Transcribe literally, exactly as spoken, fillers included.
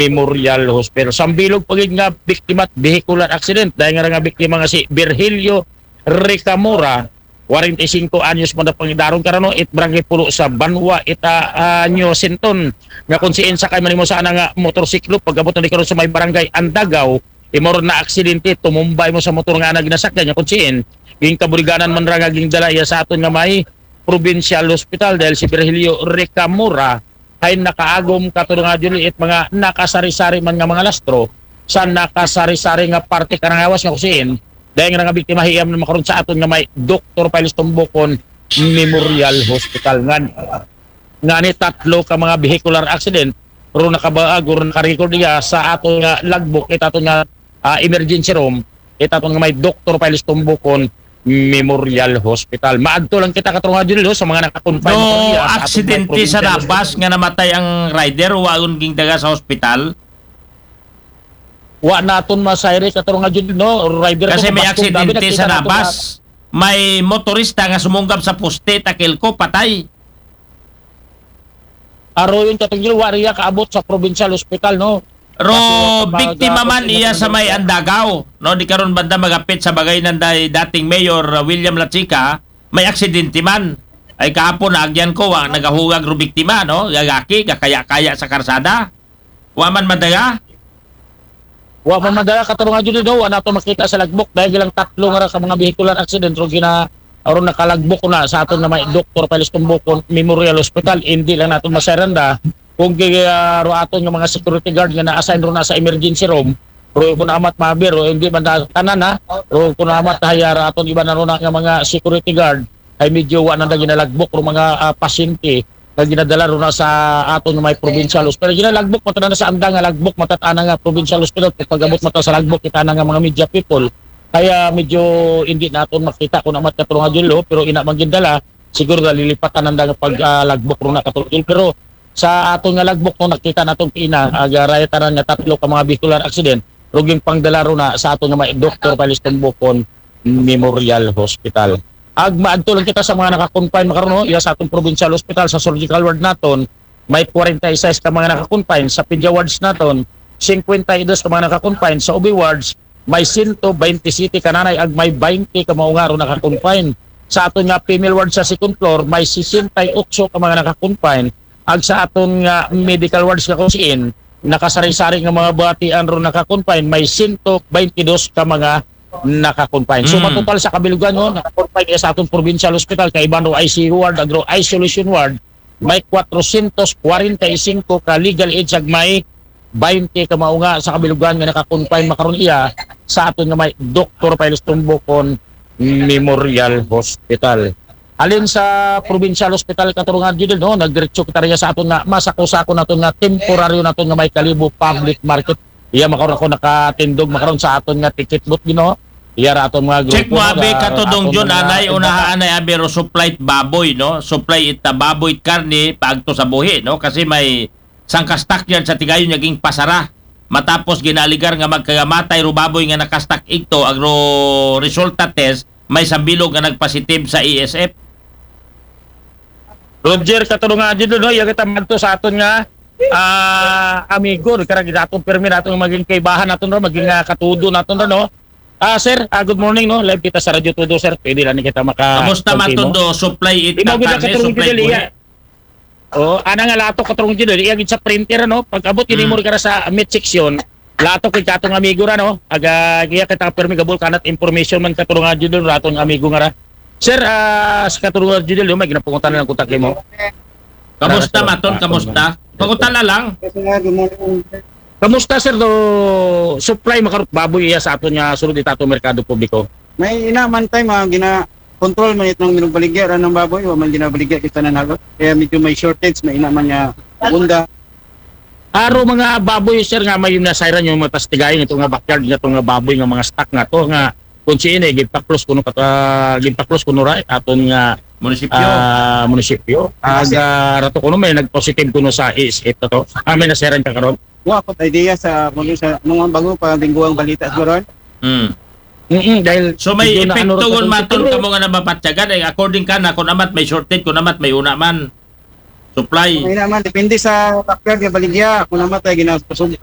Memorial Hospital. Sambilog pa gid nga biktima at vehicular accident. Dahil nga nga biktima nga si Virgilio Ricamora, forty-five anyos man na pangidaron karano, it barangay Pulo sa Banwa, ita, ah, New Sinton. Nga kung siin sakay man imo sa ana nga motorsiklo, pag-abot na di karon sa may barangay Andagaw, imo ron na aksidente, tumumbay mo sa motor nga ana ginasakyan niya kung siin. Ging kabuliganan man ra nga ging dala iya sa aton nga may provincial hospital dahil si Virgilio Ricamora ay nakaagom kato nga Juliet mga nakasari-sari man nga mga lastro sa nakasari-sari nga parte karang lawas nga kusiin. Dahil nga nga biktima hiyam na makaron sa aton nga may Doktor Piles Tumbukon Memorial Hospital. Ngan, nga ni tatlo ka mga vehicular accident, ro nakabaag, ro nakarecord niya sa aton nga logbook, ita aton nga, ah, emergency room, ita aton nga may Doktor Piles Tumbukon Memorial Hospital. Maadto lang kita kato nga Juliet sa mga nakakonfine No niya sa aton nga aksidente sa provincial nabas nga namatay ang rider, waon ging daga sa hospital. Wa naton masayri kato nga Juliet, no? Rider Kasi to, may kabaskog, grabe, aksidente nakita sa nato nabas. May motorista nga sumunggab sa poste, takil ko, patay. Aroyon katong Juliet, wa riya kaabot sa provincial hospital, no? Ro Kasi, biktima pag- man iya sa may Andagaw, no, di karon banda magapit sa bagay nanday dating Mayor, uh, William Lachica, may aksidente man. Ay kahapon naagyan ko, wa nagahugag ro biktima, no, gagaki gakaya-kaya sa karsada. Wa man madaga. Wa man madala kato nga Juliet, no? Wa nato makita sa logbook dahil lang tatlo nga ra ka mga vehicular accident ro gina aron nakalogbook na sa aton nga may Doktor Piles Tumbukon Memorial Hospital. Hindi lang nato masaranda kung gi-, ah, ro aton nga mga security guard nga na-assign ro na sa emergency room. Ro kun amat mabir, ro hindi man na tanan, ha. Ro kun amat haya ra aton iba na ro na nga mga security guard ay medyo wa na ginalogbook ro mga, ah, pasyente nga ginadala ro na sa aton nga may provincial hospital. Ginalogbook man ta na sa anda nga logbook man ta ana nga provincial hospital. Pag-abot man ta sa logbook, kita na nga mga media people. Kaya medyo hindi naton makita kun amat kato nga Juliet, pero ina man gindala, siguro nalilipatan nanda nga pag, ah, logbook ro na kato nga Juliet. Pero sa aton nga logbook no, nakita naton ina, aga raya tanan nga tatlo ka mga vehicular accident, ro ging pangdala ro na sa aton nga may Doktor Piles Tumbukon Memorial Hospital. Ag maadto lang kita sa mga naka-confine makaron, no? Iya sa atong provincial hospital, sa surgical ward naton, may forty-six ka mga naka-confine, sa pedia wards naton, fifty-two ka mga naka-confine, sa O B wards, may sento baynte siyete ka nanay ag may baynte ka mao nga ro naka-confine. Sa aton nga female ward sa second floor, may sesenta y ocho ka mga naka-confine. Ag sa aton nga medical wards nga kusiin, nakasari-sari nga mga batian ro naka-confine, may sento baynte dos ka mga naka-confine. So, Mm. matotal sa kabilugan, no, naka-confine iya sa aton provincial hospital, kaiban ro I C U ward, ag ro isolation ward, may kwatrosyentos kwarenta y singko ka legal age ag may baynte ka mao nga sa kabilugan nga naka-confine makaron iya sa aton nga may Doktor Piles Tumbukon Memorial Hospital. Halin sa provincial hospital kato nga Juliet, no, nagdiretso kita riya sa aton nga masako-sako naton nga temporaryo naton nga may Kalibo Public Market. Iya makaron ako nakatindog makaron sa aton nga ticket booth, Ginoo. Iya ra aton mga grupo, Check mo abi nga kato dong aton Jun, mga anay iba. Unaha anay abi ro supply it baboy, no? Supply it, uh, baboy it karne paagto sa buhi, no? Kasi may sangka stockyard sa Tigayon nga ging pasara. Matapos ginaaligar nga magkagamatay ro baboy nga naka-stock igto, ag ro resulta test, may sambilog nga nagpositive sa A S F. Roger, kato nga Juliet, no, iya kita madto sa aton nga, ah, amigo, karang aton permi naton maging kaibahan naton ro, maging, ah, katudo naton ro, no. Ah, sir, ah, good morning, no. Live kita sa Radyo Todo, sir. Pwede lang kita maka Kamusta man konti mo. Todo? Supply it Imo gid karne, kato nga supply Juliet, buhi. iya. Oh, ana nga lato kato nga Juliet, iya gid sa printer, no. Pag-abot ini Mm. mo sa meat section, lato kay katong amigo ra, no. Aga iya kita permi gabol kanat information man kato nga Juliet, ratong amigo nga ra. Sir, ah, sa kato nga Juliet, may ginapangutan lang kontak mo. Kamusta Para sa maton? Kamusta? Pangutana lang. Kamusta, sir, do supply makarot baboy iya sa aton nga sulod itato merkado publiko? May ina man tayo, mga gina-control man itong minugbaligya ra ng baboy, wa man ginabaligya kita na nalo. Kaya medyo may shortage, may ina man nga unda. Aro mga baboy, sir, nga may nasayran yung mga pastigayon ito nga backyard nga ito nga baboy nga mga stock nga to nga kung sino eh, gipaklos kuno kata gipaklos kuno ra aton nga Munisipyo. ah, munisipyo. Aga rato kuno may nag-positive kuno sa A S F to. Ah, may nasayran ka karon. Wa ko idea sa muli sa nung ang bago pa lingguang balita siguro. Mm. Mm, dahil So may medyo na epekto ano, gun katong maton siguro. Kamo nga nabapatyagan, eh, according ka na kung amat may shortage, kung amat may una man. Supply. May naman, depende sa backyard nga baligya. Kung naman tayo ginapasugtan,